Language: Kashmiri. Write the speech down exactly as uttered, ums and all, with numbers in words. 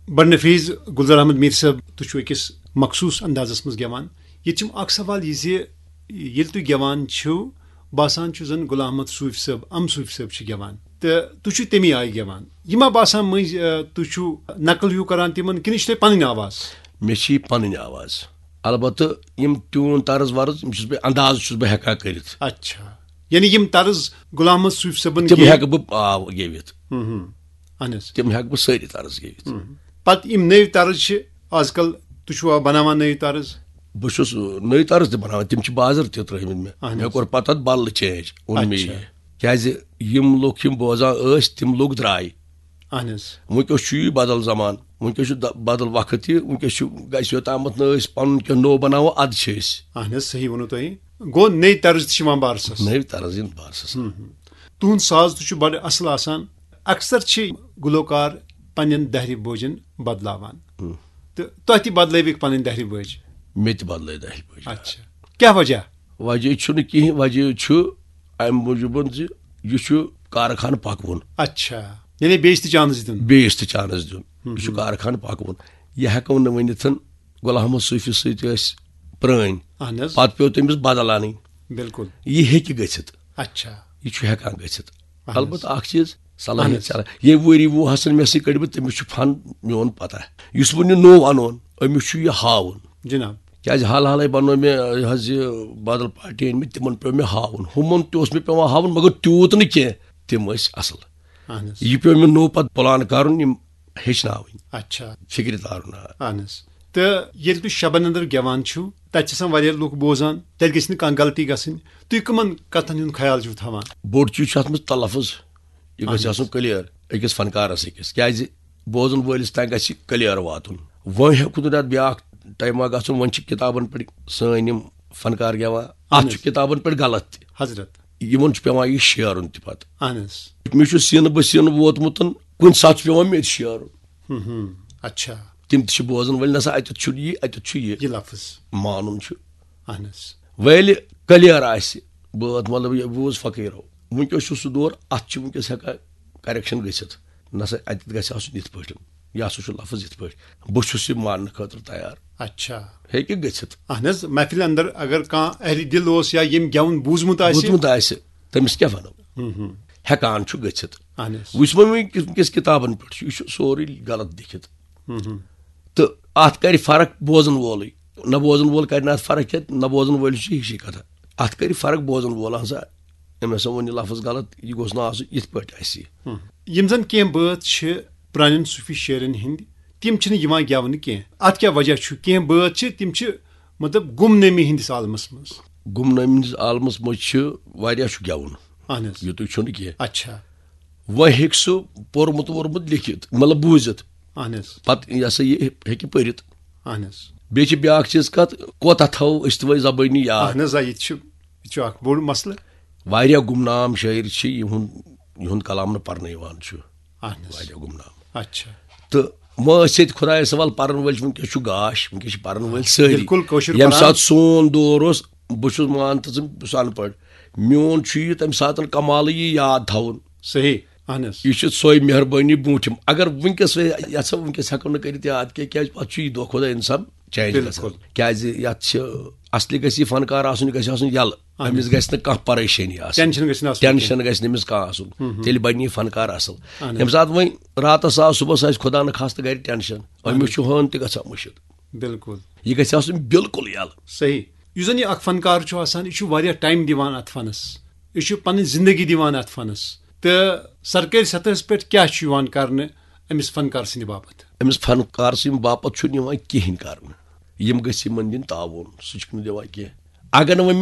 بڑ نفیز گلزار احمد میر صٲب، تُہۍ چھِو أکِس مخصوٗص اندازس منٛز گٮ۪وان۔ ییٚتہِ چھُم اکھ سوال یہِ زِ ییٚلہِ تُہۍ گٮ۪وان چھِو، باسان چھُ زن غلام احمد صوٗفۍ صٲب، ام صوٗفۍ صٲب چھِ گٮ۪وان، تہٕ تُہۍ چھِو تَمی آیہِ گٮ۪وان۔ یہِ ما باسان مٔنٛزۍ، آ، تُہۍ چھِو نقل ہیوٗ کران تِمن، کِنہٕ یہِ چھِ تۄہہِ پنٕنۍ آواز؟ مےٚ چھِ یہِ پنٕنۍ آواز۔ البتہٕ یِم ٹیوٗن طرز ورز، یِم چھُس بہٕ، انداز چھُس بہٕ ہٮ۪کان کٔرِتھ۔ اچھا، یعنی یِم طرز غلام احمد صوٗفۍ صٲبن تِم گے؟ ہٮ۪کہٕ بہٕ، آ، گیٚوِتھ۔ ہُم، ہُم۔ اہن حظ۔ تِم ہٮ۪کہٕ بہٕ سٲری طرز گیٚوِتھ۔ ہُم۔ پتہٕ یِم نٔوۍ طرز چھِ آز کل، تُہۍ چھِوا بناوان نٔوۍ طرز؟ بہٕ چھُس نٔوۍ طرز تہِ بناوان، تِم چھِ بازر تہِ ترٲومٕتۍ مےٚ۔ اہن مےٚ حظ۔ کوٚر پتہٕ اتھ بدلہٕ چینج، اوٚن مےٚ اچھا۔ یہِ۔ کیازِ یِم لُکھ یِم بوزان ٲسۍ، تِم لُکھ درٛاے۔ اہن حظ۔ وٕنکیٚس چھُ یہِ بدل زمانہٕ، وٕنکیٚس چھُ د-، بدل وقت یہِ، وٕنکیٚس چھُ، گژھِ یوٚتامَتھ نہٕ أسۍ پَنُن کینٛہہ نوٚو بَناوو، اَدٕ چھِ أسۍ۔ اہن حظ، صحیح ووٚنوٕ تۄہہِ۔ گوٚو نٔے طرز تہِ چھِ یِوان بارسَس۔ نٔوۍ طرز یِن بارسَس۔ ہم، ہم۔ تُہُنٛد ساز تہِ چھُ بَڑٕ اَصٕل آسان۔ اکثر چھِ گُلوکار پنٛنٮ۪ن دَہرِ بوجَن بدلاوان۔ ہم۔ تہٕ تۄہہِ تہِ بدلٲوِکھ پنٕنۍ دَہرِ بٲج؟ مےٚ تہِ بدلٲے دَہرِ بٲج۔ اچھا۔ کیٛاہ وجہ؟ وجہ چھُنہٕ کِہیٖنۍ، وجہ چھُ اَمہِ موٗجوٗبَن زِ یہِ چھُ کارخانہٕ پَکوُن۔ اچھا۔ یعنی بیٚیِس تہِ چانس دیُن۔ بیٚیِس تہِ چانس دیُن۔ ہم، یہِ چھُ ہم۔ کارخانہٕ پَکوُن۔ یہِ ہٮ۪کو نہٕ ؤنِتھ، غلام محمد صوفی سۭتۍ ٲسۍ پرٛٲنۍ۔ اہن حظ۔ پَتہٕ پیوٚو تٔمِس بدل اَنٕنۍ۔ بِلکُل۔ یہِ ہیٚکہِ گٔژھِتھ۔ اچھا۔ یہِ چھُ ہٮ۪کان گٔژھِتھ۔ اہن حظ۔ البتہٕ اکھ چیٖز، صلاحیت اہن حظ۔ چھِ الگ۔ ییٚمہِ ؤری وُہَس منٛز مےٚ سۭتۍ کٔڑۍ مٕتۍ، تٔمِس چھُ فن میون پتہ۔ یُس وۄنۍ یہِ نوٚو اَنون، أمِس چھُ یہِ ہاوُن۔ جناب۔ کیازِ حال حالے بنوو مےٚ، یہِ حظ یہِ بدل پارٹی أنۍ مٕتۍ، تِمن پیوٚو مےٚ ہاوُن۔ ہُمن تہِ اوس مےٚ پیوان ہاوُن، مگر تیوٗت نہٕ کینٛہہ۔ تِم ٲسۍ اصل۔ اہن حظ۔ یہِ پیوٚو مےٚ نوٚو پتہٕ پلان کرُن، یِم ہیٚچھناوٕنۍ۔ اچھا۔ فکرِ تارُن، آ۔ اہن حظ۔ تہٕ ییٚلہِ تُہۍ شبن اندر گٮ۪وان چھِو، تتہِ چھِ آسان واریاہ لُکھ بوزان، تیٚلہِ گژھِ نہٕ کانٛہہ غلطی گژھٕنۍ۔ تُہۍ کٕمن کتھن ہُنٛد خیال چھِو تھاوان؟ بوٚڑ چیٖز چھُ اتھ منٛز تلفظ۔ یہِ گژھِ اہن حظ۔ آسُن clear أکِس فنکارس أکِس، کیازِ بوزن وٲلِس تام گژھِ clear واتُن۔ وۄنۍ ہیوٚکھ نہٕ اتھ بیٛاکھ ٹایما گژھُن، وۄنۍ چھِ کتابن پٮ۪ٹھ سٲنۍ یِم فنکار گٮ۪وان، اتھ اہن چھُ حظ۔ کتابن پٮ۪ٹھ غلط تہِ۔ حضرت۔ یِمن چھُ پٮ۪وان یہِ شیرُن تہِ پتہٕ۔ اہن حظ۔ مےٚ چھُ سینہٕ بہ سینہٕ ووتمُت، کُنہِ ساتہٕ چھُ پٮ۪وان مےٚ تہِ شیرُن۔ ہم، ہم۔ اچھا۔ تِم تہِ چھِ بوزن وٲلۍ، نسا اتٮ۪تھ چھُنہٕ یہِ، اتٮ۪تھ چھُ یہِ۔ یہِ لفظ۔ مانُن چھُ۔ اہن حظ۔ وۄنۍ ییٚلہِ clear آسہِ، بٲتھ مطلب یہِ بوٗز فقیٖرو، وٕنکیٚس چھُ سُہ دور، اتھ چھُ وٕنکیٚس ہٮ۪کان correction گٔژھِتھ۔ نسا اتٮ۪تھ گژھِ آسُن یِتھ پٲٹھۍ، یہِ ہسا چھُ لفظ یِتھ پٲٹھۍ۔ بہٕ چھُس یہِ ماننہٕ خٲطرٕ تیار۔ اچھا۔ ہیٚکہِ گٔژھِتھ۔ اہن حظ، محفلہِ اندر اگر کانٛہہ اہلِ دِل اوس یا ییٚمۍ گٮ۪وُن بوٗزمُت آسہِ۔ بوٗزمُت آسہِ، تٔمِس کیٛاہ وَنو؟ ہم، ہم۔ ہٮ۪کان چھُ گٔژھِتھ۔ اہن حظ۔ وٕچھ وۄنۍ وٕنکیٚس، وٕنکیٚس کِتابن پٮ۪ٹھ چھُ، یہِ چھُ سورُے غلط لیکھِتھ۔ ہم، ہم۔ تہٕ اتھ کرِ فرق بوزن وولٕے۔ نہ بوزن وول کرِ نہٕ اتھ فرق کینٛہہ، نہ بوزن وٲلِس چھُ ہِشی کتھا۔ اتھ کرِ فرق بوزن وول، اہن سا، أمۍ ہسا ووٚن یہِ لفظ غلط، یہِ گوٚژھ نہٕ آسُن یِتھ پٲٹھۍ اَسہِ۔ ہم۔ یِم زن کینٛہہ بٲتھ چھِ پرٛانٮ۪ن صوٗفی شٲعرن ہٕنٛدۍ، تِم چھِنہٕ یِوان گٮ۪ونہٕ کینٛہہ۔ اتھ کیٛاہ وجہ چھُ؟ کینٛہہ بٲتھ چھِ، تِم چھِ مطلب گمنٲمی ہٕنٛدِس عالمس منٛز۔ گمنٲمی ہٕنٛدِس عالمس منٛز چھِ واریاہ چھُ گٮ۪وُن۔ اہن حظ۔ یُتُے چھُنہٕ کینٛہہ۔ اچھا۔ وۄنۍ ہیٚکہِ سُہ پوٚرمُت ووٚرمُت لیکھِتھ، مطلب بوٗزِتھ۔ اہن حظ۔ پتہٕ یہِ ہسا یہِ ہیٚکہِ پٔرِتھ۔ اہن حظ۔ بیٚیہِ چھِ بیٛاکھ چیٖز کتھ، کوتاہ تھاوو أسۍ تہِ وۄنۍ زبٲنی یاد؟ اہن حظ، آ، یہِ تہِ چھُ، یہِ تہِ چھُ اکھ بوٚڑ مسلہٕ۔ واریاہ گمنام شٲعر چھِ، یِہُنٛد، یِہُنٛد کلام نہٕ پرنہٕ یِوان چھُ۔ اہن حظ۔ واریاہ گمنام۔ اچھا۔ تہٕ وۄنۍ ٲسۍ ییٚتہِ خۄدایس حوالہٕ پرن وٲلۍ چھِ، وٕنکیٚس چھُ گاش، وٕنکیٚس چھِ پرن وٲلۍ سٲری۔ بِلکُل، کٲشُر ییٚمہِ پران۔ ساتہٕ سون دور اوس، بہٕ چھُس مان تہٕ ژٕ، بہٕ چھُس اَن پَڑھ۔ میون چھُ یہِ تَمہِ ساتہٕ کمالٕے یہِ یاد تھاوُن۔ صحیح، اہن حظ۔ یہِ چھِ سۄے مہربٲنی برونٛٹھِم۔ اگر وٕنکیٚس وۄنۍ یَژھو، وٕنکیٚس ہٮ۪کو نہٕ کٔرِتھ یاد کینٛہہ، کیازِ پَتہٕ چھُ یہِ دۄہ کھۄتہٕ دۄہ اِنسان چینج بِلکُل۔ گژھان۔ کیازِ یَتھ چھِ اَصلی گژھِ یہِ فنکار آسُن، یہِ گژھِ آسُن یَلہٕ۔ اہن حظ۔ أمِس گژھِ نہٕ کانٛہہ پریشٲنی آسٕنۍ۔ ٹینشن گژھِ نہٕ آسُن۔ ٹینشن گژھِ نہٕ أمِس کانٛہہ آسُن۔ ہم، ہم۔ تیٚلہِ بَنہِ یہِ فنکار اَصٕل۔ اہن حظ۔ ییٚمہِ ساتہٕ وۄنۍ راتَس آو، صُبحَس آسہِ خۄدا نہٕ خاستہٕ گرِ ٹینشن، اہن أمِس حظ۔ چھُ ہٲن تہِ گژھان مٔشِتھ۔ بِلکُل۔ یہِ گژھِ آسُن بِلکُل یَلہٕ۔ صحیح۔ یُس زَن یہِ اکھ فنکار چھُ آسان، یہِ چھُ واریاہ ٹایم دِوان اَتھ فنَس۔ یہِ چھُ پنٕنۍ زندگی دِوان اَتھ فنَس۔ تہٕ سرکٲرۍ سطحس پٮ۪ٹھ کیٛاہ چھُ یِوان کرنہٕ أمِس فنکار سٕنٛدِ باپتھ؟ أمِس فنکار سٕنٛدِ باپتھ چھُنہٕ یِوان کِہیٖنۍ کرنہٕ۔ یِم گٔژھۍ یِمن دِنۍ تعاوُن، سُہ چھُکھ نہٕ دِوان کینٛہہ۔ اگر نہٕ وۄنۍ